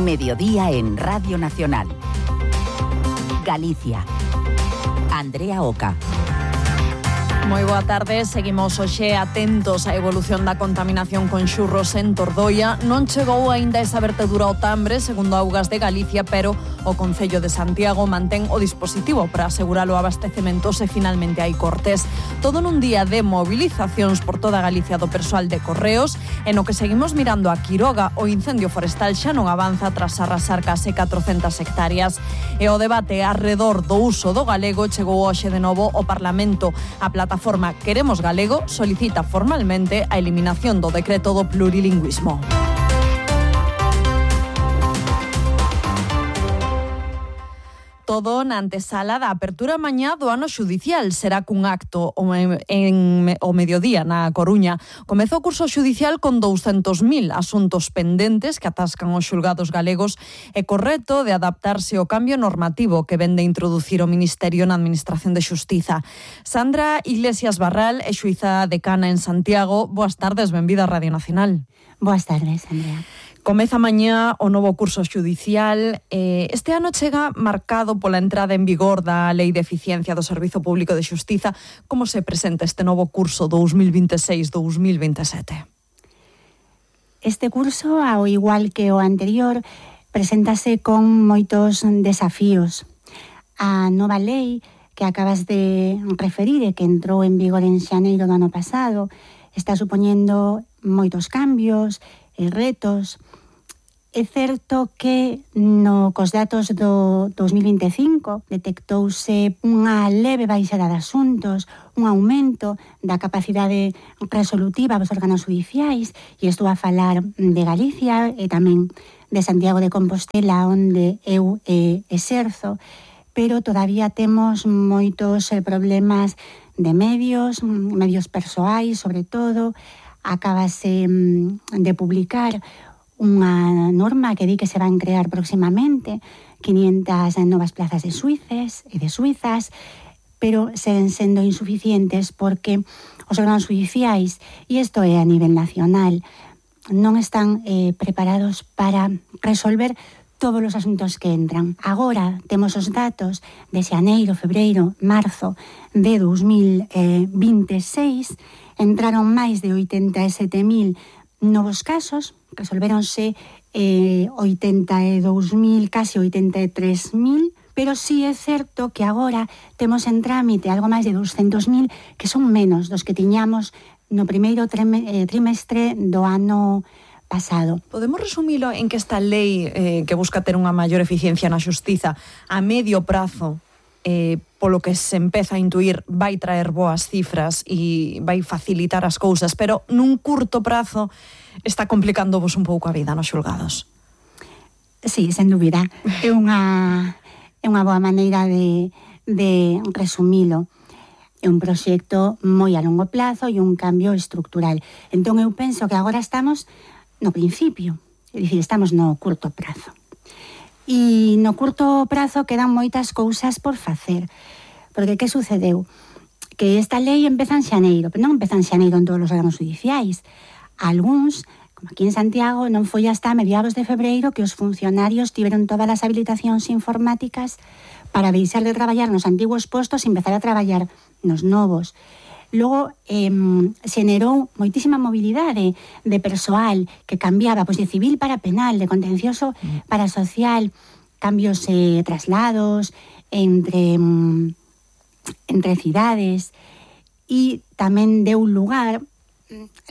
Mediodía en Radio Nacional. Galicia. Andrea Oca. Moi boa tarde, seguimos hoxe atentos á evolución da contaminación con xurros en Tordoia. Non chegou aínda esa vertedura ao Tambre, segundo Augas de Galicia, pero o Concello de Santiago mantén o dispositivo para asegurar o abastecemento se finalmente hai cortes. Todo nun día de movilizacións por toda Galicia do persoal de Correos, en o que seguimos mirando a Quiroga, o incendio forestal xa non avanza tras arrasar case 400 hectáreas. E o debate arredor do uso do galego chegou hoxe de novo ao Parlamento. A plataforma Queremos Galego solicita formalmente a eliminación do decreto do plurilingüismo. Todo na antesala da apertura mañá do ano xudicial. Será cun acto o mediodía na Coruña. Comeza o curso xudicial con 200.000 asuntos pendentes que atascan os xulgados galegos e co reto de adaptarse ao cambio normativo que vende introducir o Ministerio na Administración de Xustiza. Sandra Iglesias Barral é xuíza decana en Santiago. Boas tardes, benvida a Radio Nacional. Boas tardes, Andrea. Comeza mañá o novo curso xudicial. Este ano chega marcado pola entrada en vigor da Lei de Eficiencia do Servizo Público de Xustiza. Como se presenta este novo curso 2026-2027? Este curso, ao igual que o anterior, preséntase con moitos desafíos. A nova lei que acabas de referir e que entrou en vigor en xaneiro do ano pasado está supoñendo moitos cambios e retos. É certo que cos datos do 2025 detectouse unha leve baixada de asuntos, un aumento da capacidade resolutiva dos órganos judiciais, e estou a falar de Galicia e tamén de Santiago de Compostela, onde eu exerzo, pero todavía temos moitos problemas de medios persoais, sobre todo. Acabase de publicar unha norma que di que se van crear próximamente 500 novas plazas de xuíces e de xuízas, pero seguen sendo insuficientes porque os órganos judiciais, e isto é a nivel nacional, non están preparados para resolver todos os asuntos que entran. Agora temos os datos de xaneiro, febreiro, marzo de 2026, entraron máis de 87.000 novos casos, resolvéronse 82.000, casi 83.000, pero sí é certo que agora temos en trámite algo máis de 200.000, que son menos dos que tiñamos no primeiro trimestre do ano pasado. Podemos resumilo en que esta lei que busca ter unha maior eficiencia na xustiza a medio prazo, polo que se empeza a intuir, vai traer boas cifras e vai facilitar as cousas, pero nun curto prazo está complicándovos un pouco a vida nos xulgados? Sí, sen dúbida. É unha boa maneira de resumilo. É un proxecto moi a longo plazo e un cambio estructural. Entón eu penso que agora estamos no principio, é dicir, estamos no curto prazo. E no curto prazo quedan moitas cousas por facer. Porque que sucedeu? Que esta lei empeza en xaneiro, pero non empeza en xaneiro en todos os órganos judiciais. Algúns, como aquí en Santiago, non foi hasta mediados de febreiro que os funcionarios tiveron todas as habilitacións informáticas para deixar de traballar nos antigos postos e empezar a traballar nos novos. Logo, xenerou moitísima mobilidade de persoal que cambiaba de civil para penal, de contencioso para social, cambios traslados entre cidades, e tamén deu lugar,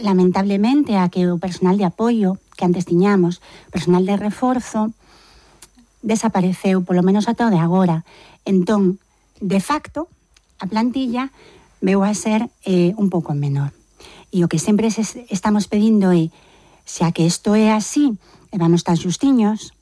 lamentablemente, a que o personal de apoio que antes tiñamos, personal de reforzo, desapareceu, polo menos ata o de agora. Entón, de facto, a plantilla veu a ser un pouco menor. E o que sempre estamos pedindo é, xa que isto é así, e vamos tan xustiños,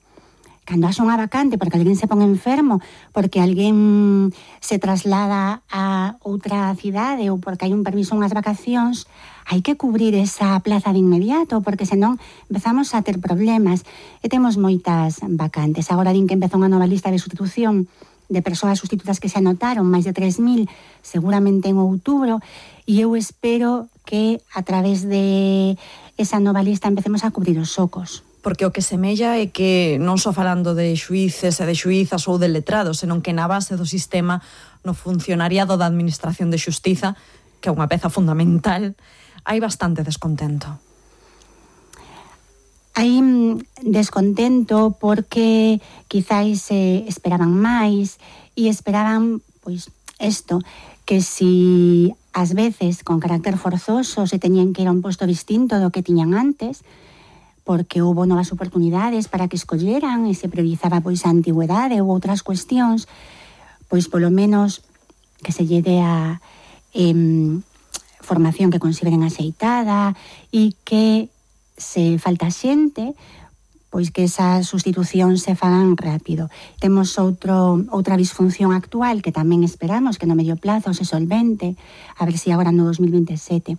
cando haxa unha vacante porque alguén se pon enfermo, porque alguén se traslada a outra cidade ou porque hai un permiso unhas vacacións, hai que cubrir esa plaza de inmediato, porque senón empezamos a ter problemas. E temos moitas vacantes. Agora din que empeza unha nova lista de sustitución de persoas sustitutas que se anotaron, máis de 3.000, seguramente en outubro, e eu espero que a través de esa nova lista empecemos a cubrir os socos. porque o que semella é que non só falando de xuíces e de xuízas ou de letrados, senón que na base do sistema, no funcionariado da Administración de Xustiza, que é unha peza fundamental, hai bastante descontento. Hai descontento porque quizáis esperaban máis e esperaban, pois, isto, que si ás veces con carácter forzoso se teñían que ir a un posto distinto do que tiñan antes, porque houbo novas oportunidades para que escolleran e se priorizaba pois a antigüedade ou outras cuestións, pois polo menos que se lle dé a formación que consideren axeitada e que se falta xente, pois que esa sustitución se fagan rápido. Temos outra disfunción actual que tamén esperamos que no medio plazo se solvente, a ver se agora no 2027,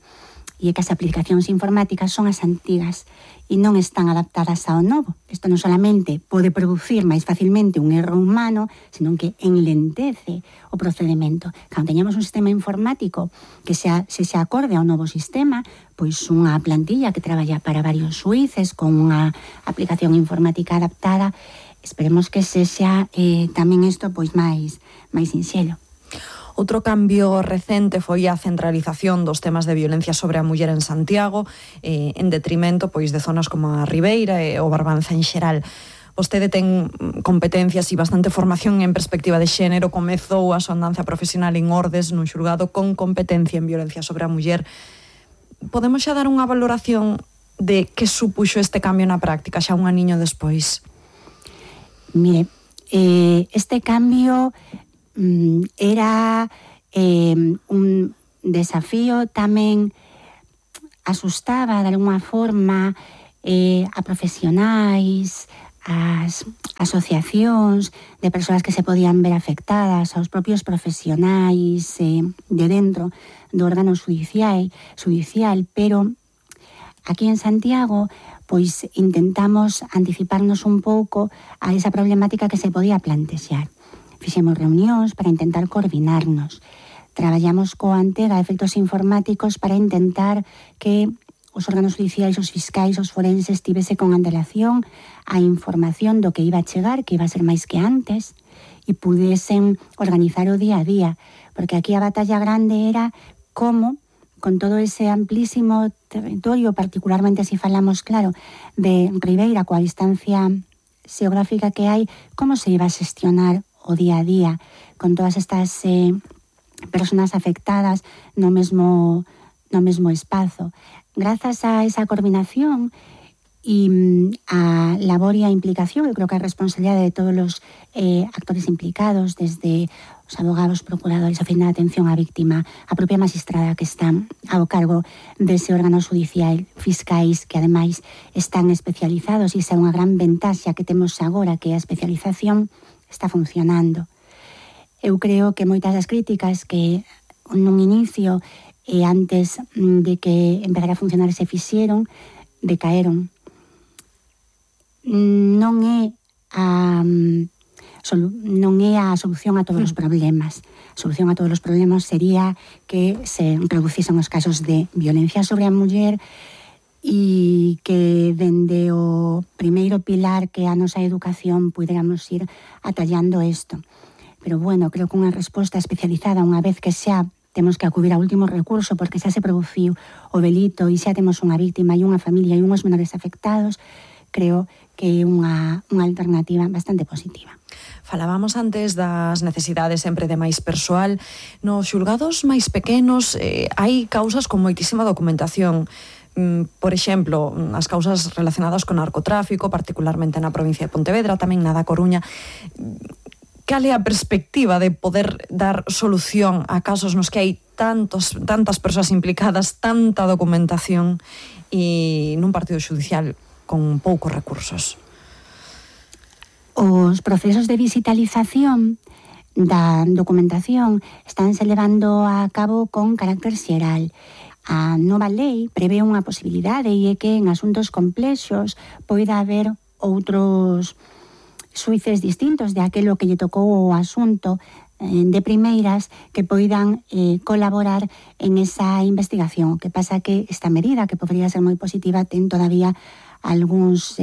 e é que as aplicacións informáticas son as antigas e non están adaptadas ao novo. Isto non solamente pode producir máis facilmente un erro humano, senón que enlentece o procedimento. Cando teñamos un sistema informático que se acorde ao novo sistema, pois unha plantilla que traballa para varios xuíces con unha aplicación informática adaptada, esperemos que sexa tamén isto pois máis sinxelo. Outro cambio recente foi a centralización dos temas de violencia sobre a muller en Santiago, en detrimento pois de zonas como a Ribeira e o Barbanza en xeral. Vostede ten competencias e bastante formación en perspectiva de xénero, comezou a súa andanza profesional en Ordes, nun xulgado con competencia en violencia sobre a muller. Podemos xa dar unha valoración de que supuxo este cambio na práctica xa un aniño despois? Mire, este cambio era un desafío, tamén asustaba de alguma forma a profesionais, as asociacións de persoas que se podían ver afectadas, aos propios profesionais de dentro do órgano judicial, pero aquí en Santiago pois intentamos anticiparnos un pouco a esa problemática que se podía plantexar. Fixemos reunións para intentar coordinarnos. Traballamos coa Antega efectos informáticos para intentar que os órganos judiciais, os fiscais, os forenses tivese con antelación a información do que iba a chegar, que iba a ser máis que antes, e pudesen organizar o día a día. Porque aquí a batalla grande era como, con todo ese amplísimo territorio, particularmente se falamos, claro, de Ribeira, coa distancia xeográfica que hai, como se iba a xestionar o día a día, con todas estas personas afectadas no mesmo espazo. Grazas a esa coordinación e a labor e a implicación, eu creo que a responsabilidade de todos os actores implicados, desde os abogados, procuradores, a fin de atención á víctima, a propia magistrada que está ao cargo dese órgano judicial, fiscais que ademais están especializados, e esa é unha gran ventaxa que temos agora, que a especialización está funcionando. Eu creo que moitas das críticas que nun inicio e antes de que empezara a funcionar se fixeron, decaeron. Non é a solución a todos os problemas. A solución a todos os problemas sería que se reducisen os casos de violencia sobre a muller e que dende o primeiro pilar que a nosa educación puderamos ir atallando isto. Pero bueno, creo que unha resposta especializada, unha vez que xa temos que acudir ao último recurso porque xa se produciu o delito e xa temos unha víctima e unha familia e unhos menores afectados, creo que é unha alternativa bastante positiva. Falábamos antes das necesidades sempre de máis persoal. Nos xulgados máis pequenos hai causas con moitísima documentación. Por exemplo, as causas relacionadas con narcotráfico, particularmente na provincia de Pontevedra, tamén na da Coruña. Cal é a perspectiva de poder dar solución a casos nos que hai tantas persoas implicadas, tanta documentación e nun partido judicial con poucos recursos? Os procesos de digitalización da documentación estánse levando a cabo con carácter xeral. A nova lei prevé unha posibilidade e é que en asuntos complexos poida haber outros xuíces distintos de aquelo que lle tocou o asunto de primeiras que poidan colaborar en esa investigación. O que pasa que esta medida, que podería ser moi positiva, ten todavía algúns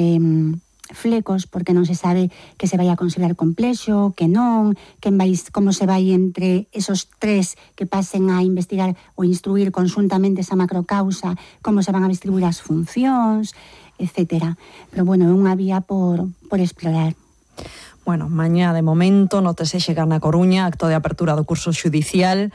flecos, porque non se sabe que se vai a considerar complexo, que non, como se vai entre esos tres que pasen a investigar ou instruir conjuntamente esa macrocausa, como se van a distribuir as funcións, etcétera. Pero, bueno, é unha vía por explorar. Bueno, mañá de momento nótese chegar na Coruña, acto de apertura do curso xudicial.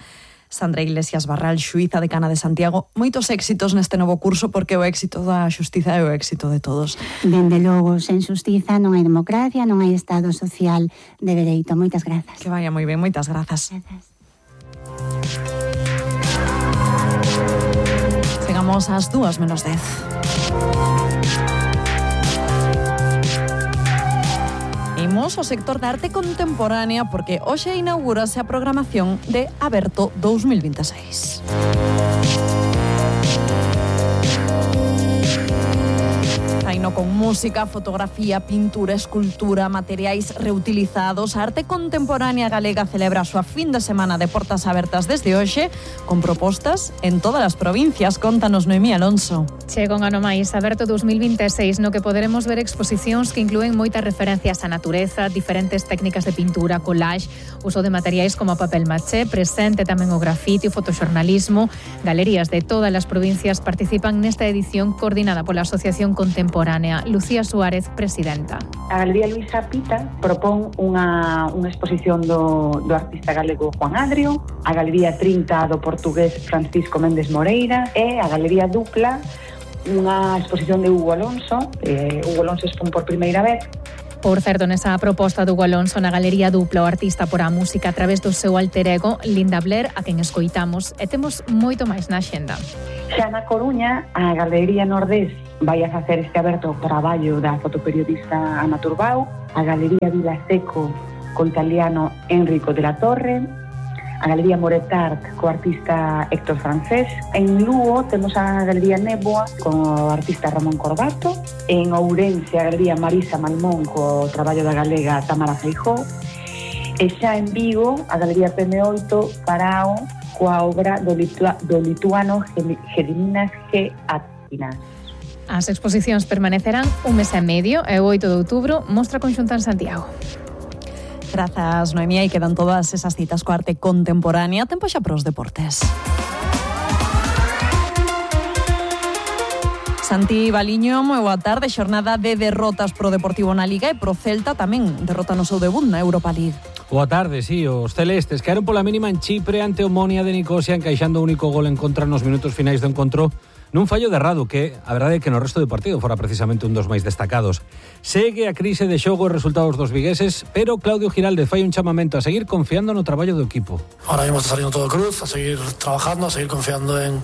Sandra Iglesias Barral, xuíza decana de Santiago, moitos éxitos neste novo curso, porque o éxito da xustiza é o éxito de todos. Dende logo, sen xustiza non hai democracia, non hai Estado social de dereito. Moitas grazas. Que vaya moi ben, moitas grazas. Grazas. Chegamos ás 2:10. Imos ao sector da arte contemporánea porque hoxe inaugúrase a programación de Aberto 2026. Faino con música, fotografía, pintura, escultura, materiais reutilizados. A arte contemporánea galega celebra a súa fin de semana de portas abertas desde hoxe, con propostas en todas as provincias. Contanos, Noemí Alonso. Chega un ano máis, Aberto 2026, no que poderemos ver exposicións que inclúen moitas referencias á natureza, diferentes técnicas de pintura, collage, uso de materiais como papel maché, presente tamén o grafite, o fotoxornalismo. Galerías de todas as provincias participan nesta edición coordinada pola Asociación Contemporánea. Lucía Suárez, presidenta. A Galería Luisa Pita propón unha exposición do artista galego Juan Adrio, a Galería 30 do portugués Francisco Méndez Moreira e a Galería Dupla unha exposición de Hugo Alonso. Hugo Alonso expón por primeira vez. Por certo, nesa proposta do Hugo Alonso na Galería Dupla, o artista porá a música a través do seu alter ego, Linda Blair, a quen escoitamos, e temos moito máis na xenda. Xa na Coruña, a Galería Nordés vai a facer este aberto traballo da fotoperiodista Ana Turbao, a Galería Vilaseco co italiano Enrico de la Torre, a Galería Moretart co artista Héctor Francés. En Lugo temos a Galería Néboa co artista Ramón Corbato, en Ourense a Galería Marisa Malmón co traballo da galega Tamara Feijó, e xa en Vigo a Galería PM8 Farao coa obra do lituano Gediminas G. Atinas. As exposicións permanecerán un mes e medio e o 8 de outubro mostra conxunta en Santiago. Grazas, Noemí, e quedan todas esas citas coa arte contemporánea. Tempo xa para os deportes. Santi Baliño, moi boa tarde. Xornada de derrotas pro Deportivo na Liga e pro Celta tamén derrota no seu debut na Europa League. Boa tarde, sí, os celestes caeron pola mínima en Chipre ante o Omonia de Nicosia, encaixando o único gol en contra nos minutos finais do encontro, nun fallo de Radu que, a verdade é que no resto do partido fora precisamente un dos máis destacados. Segue a crise de xogo e resultados dos vigueses, pero Claudio Giraldez fai un chamamento a seguir confiando no traballo do equipo. Ahora mismo está saliendo todo cruz, a seguir trabajando, a seguir confiando en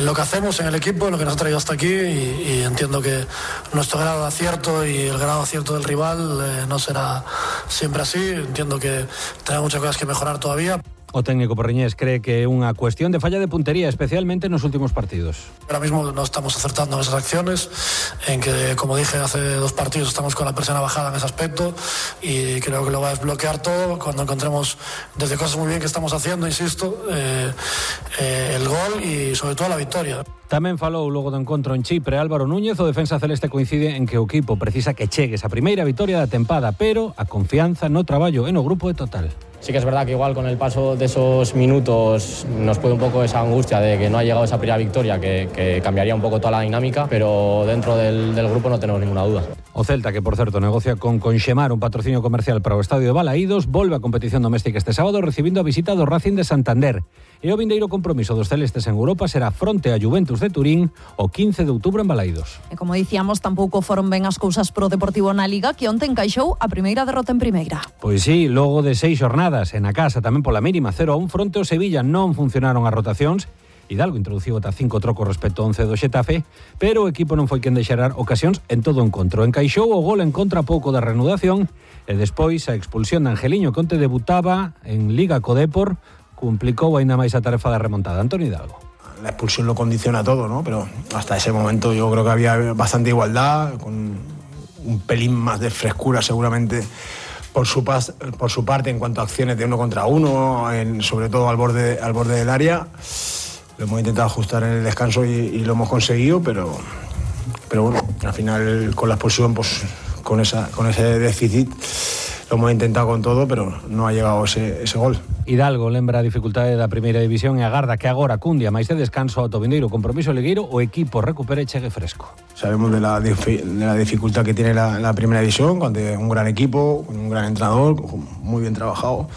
lo que hacemos, en el equipo, en lo que nos ha traído hasta aquí y entiendo que nuestro grado de acierto y el grado de acierto del rival no será siempre así. Entiendo que tenemos muchas cosas que mejorar todavía. O técnico porriñés cree que é unha cuestión de falla de puntería, especialmente nos últimos partidos. Ahora mismo no estamos acertando en esas acciones, en que, como dije, hace 2 partidos estamos con la presión bajada en ese aspecto y creo que lo va a desbloquear todo cuando encontremos desde cosas muy bien que estamos haciendo, insisto, el gol y sobre todo la victoria. Tamén falou logo do encontro en Chipre Álvaro Núñez. O defensa celeste coincide en que o equipo precisa que chegue esa primeira vitoria da tempada, pero a confianza no traballo e no grupo é total. Sí que es verdad que igual con el paso de esos minutos nos puede un poco esa angustia de que no ha llegado esa primera victoria que cambiaría un poco toda la dinámica, pero dentro del grupo no tenemos ninguna duda. O Celta, que por certo negocia con Conxemar un patrocinio comercial para o estadio de Balaídos, volve a competición doméstica este sábado recibindo a visita do Racing de Santander. E o vindeiro compromiso dos celestes en Europa será fronte a Juventus de Turín o 15 de outubro en Balaídos. E como dicíamos, tampouco foron ben as cousas pro Deportivo na Liga, que onte encaixou a primeira derrota en primeira. Pois sí, logo de 6 xornadas en a casa tamén pola mínima 0-1 fronte ao Sevilla non funcionaron as rotacións. Hidalgo introduciu ata 5 trocos respecto ao 11 do Xetafe, pero o equipo non foi quen de xerar ocasións en todo o encontro. Encaixou o gol en contra pouco da reanudación e despois a expulsión de Angeliño, que onte debutaba en Liga co Depor, complicou aínda máis a tarefa da remontada. Antonio Hidalgo. La expulsión lo condiciona todo, ¿no? Pero hasta ese momento yo creo que había bastante igualdad, con un pelín más de frescura seguramente por su parte en cuanto a acciones de 1 contra 1, sobre todo al borde del área. Lo hemos intentado ajustar en el descanso y lo hemos conseguido, pero pero bueno, al final con la expulsión, pues con ese déficit lo hemos intentado con todo, pero no ha llegado ese gol. Hidalgo lembra a dificultade da primeira división e agarda que agora cun día máis de descanso ao Vindeiro compromiso ligueiro o equipo recupere e chegue fresco. Sabemos de la dificultad que tiene la primera división, cuando un gran equipo, un gran entrenador, muy bien trabajado.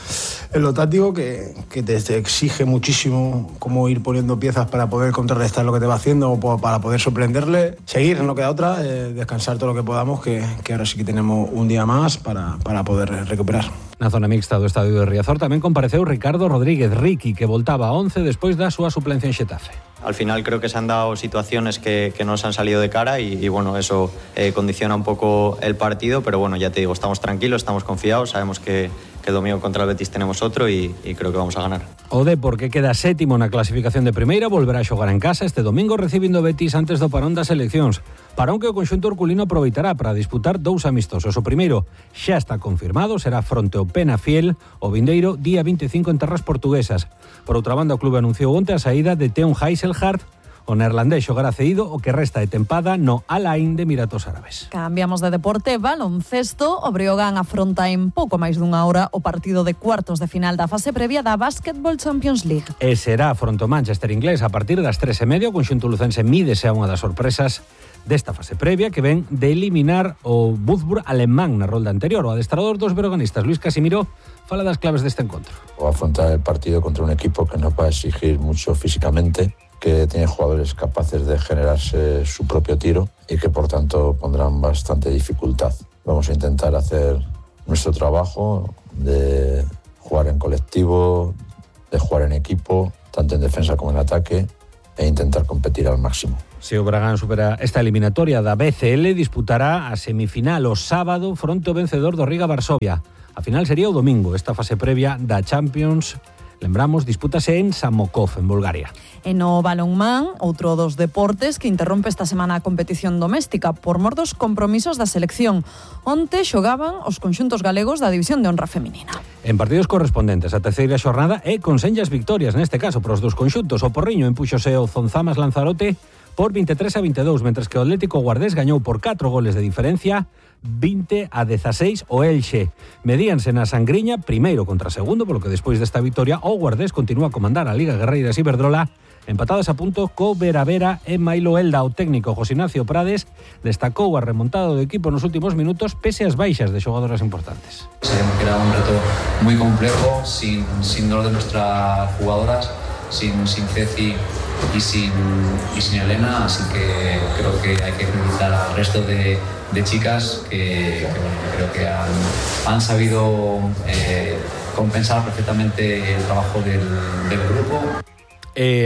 En lo táctico que te exige muchísimo cómo ir poniendo piezas para poder contrarrestar lo que te va haciendo o para poder sorprenderle. Seguir, no queda otra, descansar todo lo que podamos, que ahora sí que tenemos un día más para poder recuperar. Na zona mixta do estadio de Riazor tamén compareceu Ricardo Rodríguez Riqui, que voltaba a 11 despois da súa suplencia en Xetafe. Al final creo que se han dado situaciones que nos han salido de cara y bueno, eso condiciona un poco el partido, pero bueno, ya te digo, estamos tranquilos, estamos confiados, sabemos que el domingo contra el Betis tenemos otro y creo que vamos a ganar. O Depor, que queda sétimo na clasificación de primeira, volverá a xogar en casa este domingo recibindo Betis antes do parón das eleccións. Parón que o conxunto urculino aproveitará para disputar 2 amistosos. O primeiro xa está confirmado, será fronte ao Penafiel, o vindeiro día 25 en terras portuguesas. Por outra banda, o clube anunciou onte a saída de Teun Heiselhart. O neerlandés xogará cedido o que resta de tempada no Al Ain de Emiratos Árabes. Cambiamos de deporte, baloncesto. O Breogán afronta en pouco máis dunha hora o partido de cuartos de final da fase previa da Basketball Champions League. E será fronte ao Manchester inglés a partir das 3:30. O conxunto lucense mídese a unha das sorpresas desta fase previa que ven de eliminar o Würzburg alemán na rolda anterior. O adestrador dos breoganistas, Luis Casimiro, fala das claves deste encontro. O afrontar el partido contra un equipo que nos va a exigir mucho físicamente, que tiene jugadores capaces de generarse su propio tiro y que por tanto pondrán bastante dificultad. Vamos a intentar hacer nuestro trabajo de jugar en colectivo, de jugar en equipo, tanto en defensa como en ataque, e intentar competir al máximo. Se o Bragán supera esta eliminatoria da BCL, disputará a semifinal o sábado fronte ao vencedor do Riga Varsovia. A final sería o domingo, esta fase previa da Champions. Lembramos, dispútase en Samokov, en Bulgaria. E no balonmán, outro dos deportes que interrompe esta semana a competición doméstica por mor dos compromisos da selección. Onte xogaban os conxuntos galegos da División de Honra Feminina. En partidos correspondentes, a terceira xornada e con senllas victorias, neste caso, para os dos conxuntos. O Porriño empuxose o Zonzamas Lanzarote por 23-22, mentres que o Atlético Guardés gañou por 4 goles de diferencia, 20-16 o Elxe. Medíanse na Sangriña, primeiro contra segundo, polo que despois desta victoria o Guardés continúa a comandar a Liga Guerreiras Iberdrola, empatadas a punto co Veravera e Mailo Elda. O técnico José Ignacio Prades destacou a remontada do equipo nos últimos minutos pese ás baixas de xogadoras importantes. Sabemos que era un reto muy complejo, sin dos de nuestras jugadoras, sin Ceci y sin Elena, así que creo que hay que felicitar al resto de chicas que creo que han sabido compensar perfectamente el trabajo del grupo.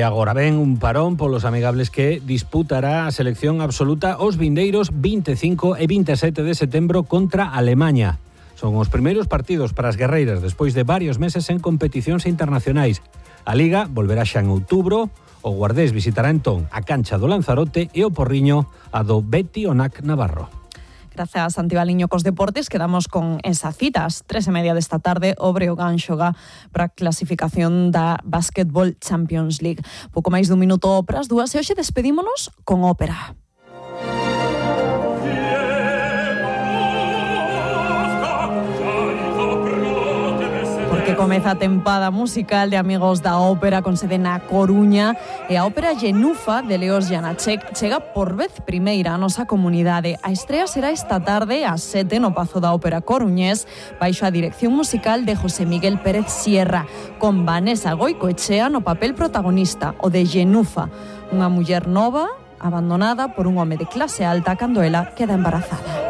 Agora ven un parón polos amigables que disputará a selección absoluta os vindeiros 25 e 27 de setembro contra Alemaña. Son os primeiros partidos para as guerreiras despois de varios meses en competicións internacionais. A Liga volverá xa en outubro. O Guardés visitará entón a cancha do Lanzarote e o Porriño a do Betty Onac Navarro. Gracias, Santi Baliño, cos deportes. Quedamos con esas citas. 3:30 desta tarde, o Breogán xoga para a clasificación da Basketball Champions League. Pouco máis dun minuto para as 2 e hoxe despedímonos con ópera. Que comeza a tempada musical de Amigos da Ópera con sede na Coruña e a ópera Genufa de Leos Janacek chega por vez primeira a nosa comunidade. A estrea será esta tarde ás 7 no Pazo da Ópera Coruñés baixo a dirección musical de José Miguel Pérez Sierra con Vanessa Goicoechea no papel protagonista, o de Genufa, unha muller nova abandonada por un home de clase alta cando ela queda embarazada.